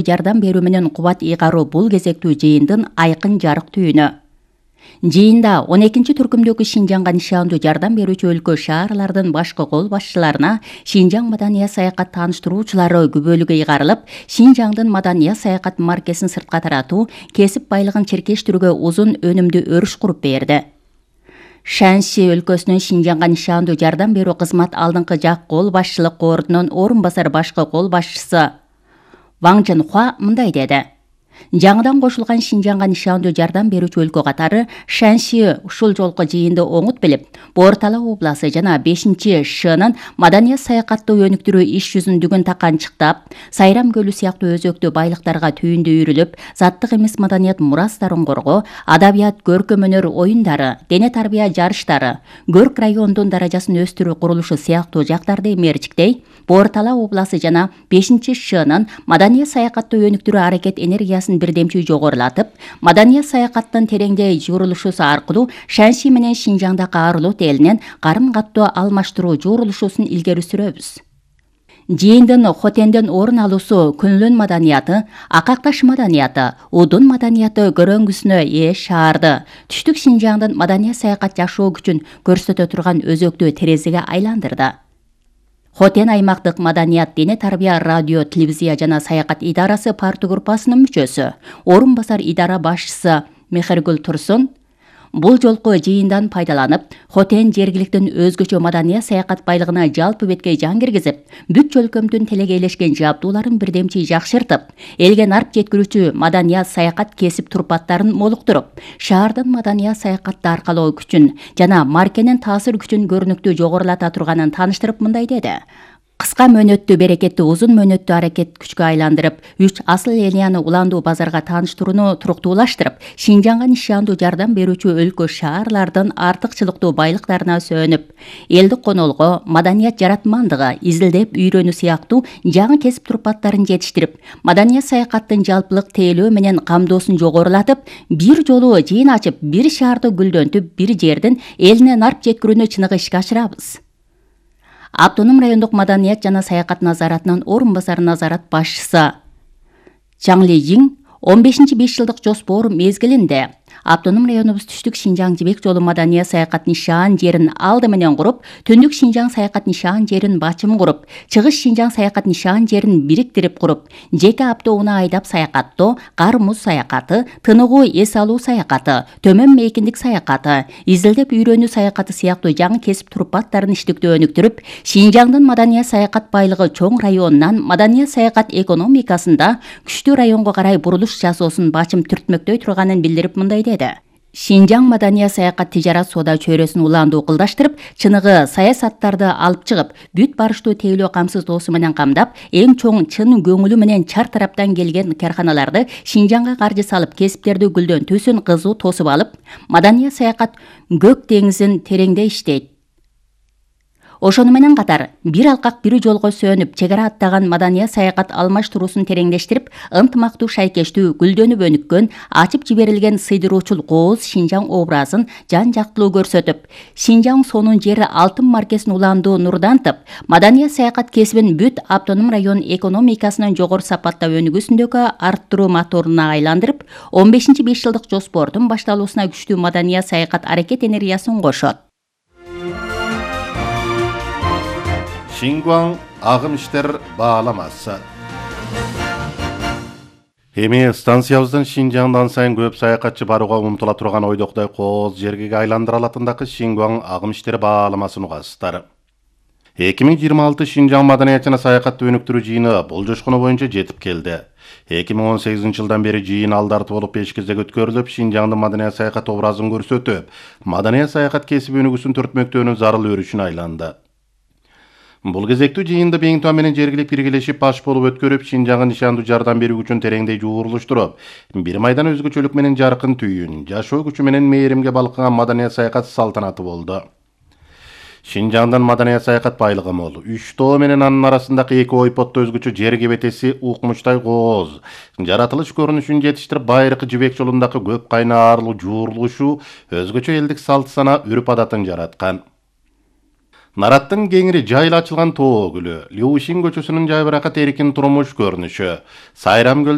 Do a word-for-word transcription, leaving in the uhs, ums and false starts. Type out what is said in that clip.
жардам берүү менен кубат ыйгаруу бул кезектүү жыйындын айкын жарык түйүнү. Жыйында он экинчи түркүмдөгү Шинжаңга нишандуу жардам берүүчү өлкө шаарлардын башкы кол башчыларына Шинжаң маданият саякат тааныштыруучулары күбөлүгү ыйгарылып, Шинжаңдын маданият саякат маркесин сыртка таратуу, кесип байлыгын чиркештирүүгө узун өнүмдүү өрүш куруп берди. Шанси өлкөсүнүн Шинжаңга нишандуу жардам берүү кызмат алдыңкы жак кол башчылык кордунун орун басар башкы кол башчысы Ваң Жынхуа мындай деди. Жаңыдан кошулган Шинжаңга нишандуу жардам берүүчү өлкө катары Шанси ушул жолку жыйынды оңут билип, Бортала обласы жана бешинчи Шнын маданият саякаттуу өнүктүрүү иш жүзүндүгүн таканчыктап, Сайрам көлү сыяктуу өзөктүү байлыктарга түйүндү үйрүлүп, заттык эмес маданият мурастарын коргоо, адабият, көркөм өнөр оюндары, дене тарбия жарыштары, Көрк районунун даражасын өстүрүү курулушу сыяктуу жактарды мерчиктей, Бортала обласы жана бешинчи Шнын маданият саякаттуу өнүктүрүү аракет энергиясын бирдемчүү жогорулатып, маданият саякаттын тереңдей журулушусу аркылуу Шанси менен Шинжаңдагы Арлут элинен карым-каттоо алмаштыруу журулушусун илгери сүрөбүз. Жыйындын Хотенден орун алуусу Күнлүн маданияты, Акакташ маданияты, Удун маданияты көрөңгүсүнө ээ шаарды түштүк Шинжаңдын маданият саякат жашоо күчүн көрсөтө турган өзөктүү терезеге айландырды. Хотен аймактык маданият, дене тарбия, радио, телевизия жана саякат идарасы партия группасынын мүчөсү, орун басар идара башчысы Мехергүл Турсун бул жолку жыйындан пайдаланып, Хотен жергиликтин өзгөчө маданият саякат байлыгына жалпы беткей жан киргизип, бүт өлкөмдүн телегейлешкен жабдууларын бирдемчи жакшыртып, элге нарп жеткирүүчү маданият саякат кесип турпаттарын молуктуруп, шаардын маданият саякатты аркалоо күчүн жана маркенин таасир күчүн көрүнүктүү жогорулата турганын тааныштырып мындай деди. Кыска мөөнөттүү берекетти узун мөөнөттүү аракет күчкө айландырып, үч асыл линияны уландуу базарга тааныштырууну туруктуулаштырып, Шинжаңга нишандуу жардам берүүчү өлкө шаарлардын артыкчылыктуу байлыктарына сөөнүп, элдик конолго, маданият жаратмандыгы, изилдеп үйрөнүү сыяктуу жаңы кесип турпаттарын жетиштирип, маданият саякаттын жалпылык тейлөө менен камдоосун жогорулатып, бир жолу жыйын ачып, бир шаарды гүлдөнтүп, бир жердин элине нарп жеткирүүнү чыныгы ишке ашырабыз. Автоном райондук маданият жана саякат назаратынын орун басар назарат башчысы Чаң Ли Жиң он бешинчи беш жылдык жоспор мезгилинде Автоном районубуз түштүк Шинжаң жибек жолу маданият саякат нишан жерин алды менен куруп, түндүк Шинжаң саякат нишан жерин бачым куруп, чыгыш Шинжаң саякат нишан жерин бириктирип куруп, жеке автоунаа айдап саякаттоо, кар-муз саякаты, тыныгуу эс алуу саякаты, төмөн мейкиндик саякаты, изилдеп үйрөнүү саякаты сыяктуу жаңы кесип турпаттарын иштиктүү өнүктүрүп, Шинжаңдын маданият саякат байлыгы чоң районунан маданият саякат экономикасында күчтүү районго карай бурулуш жасоосун бачым түртмөктөй турганын билдирип мындай деди. Шинжаң маданият саякат тижарат соода чөйрөсүн уландуу кылдаштырып, чыныгы саясаттарды алып чыгып, бүт барыштуу тейлөө камсыздоосу менен камдап, эң чоң чын көңүлү менен чар тараптан келген карханаларды Шинжаңга каржы салып, кесиптерди гүлдөнтүүсүн кызуу тосуп алып, маданият саякат көк деңизин тереңде иштейт. Ошону менен катар, бир алкак бир жолго сөөнүп, чегара аттаган маданият саякат алмаштыруусун тереңдештирип, ынтымактуу, шайкештүү, гүлдөнүп өнүккөн, ачып жиберилген сыйдыруучул кооз Шинжаң образын жан-жактылуу көрсөтүп, Шинжаң сонун жери алтын маркесин уландуу нурдантып, маданият саякат кесибин бүт автоном район экономикасынын жогору сапатта өнүгүүсүндөгү арттыруу моторуна айландырып, он бешинчи беш жылдык жоспордун башталуусуна күчтүү маданият саякат аракет энергиясын кошот. Шингуаң агым иштер бааламасы. Эми станциябыздын Шинжаңдан сайын көп саякатчы барууга умтула турган ойдоктой кооз жергеге айландыра алатындагы Шингуаң агым иштери бааламасын угасыздар. эки миң жыйырма алты Шинжаң маданият жана саякатты өнүктүрүү жыйыны бул жошкону боюнча жетип келди. эки миң он сегизинчи жылдан бери жыйын алдарты болуп беш кезек өткөрүлүп, Шинжаңдын маданият саякат образын көрсөтүп, маданият саякат кесиби өнүгүүсүн төртмөктөөнүн зарыл өрүшүнө айланды. Бул кезектүү жыйынды Бейиңтуан менен жергилик биргелешип баш болуп өткөрүп, Шинжаңга нишандуу жардам берүү күчүн тереңдей жуурулуштуруп, бир майдан өзгөчөлүк менен жаркын түйүн, жашоо күчү менен мээримге балкыган маданият саякат салтанаты болду. Шинжаңдын маданият саякат байлыгы мол. Үч тоо менен анын арасындагы эки ойпотто өзгөчө жер кебетеси укмуштай кооз. Жаратылыш көрүнүшүн жетиштирип, байыркы жибек жолундагы көп кайнаарлуу жуурулушу өзгөчө элдик салт сана, үрп адатын жараткан. Нараттын кеңири жайла ачылган тоо гүлү, Леушин көчөсүнүн жайбыракат эркин турмуш көрүнүшү, Сайрам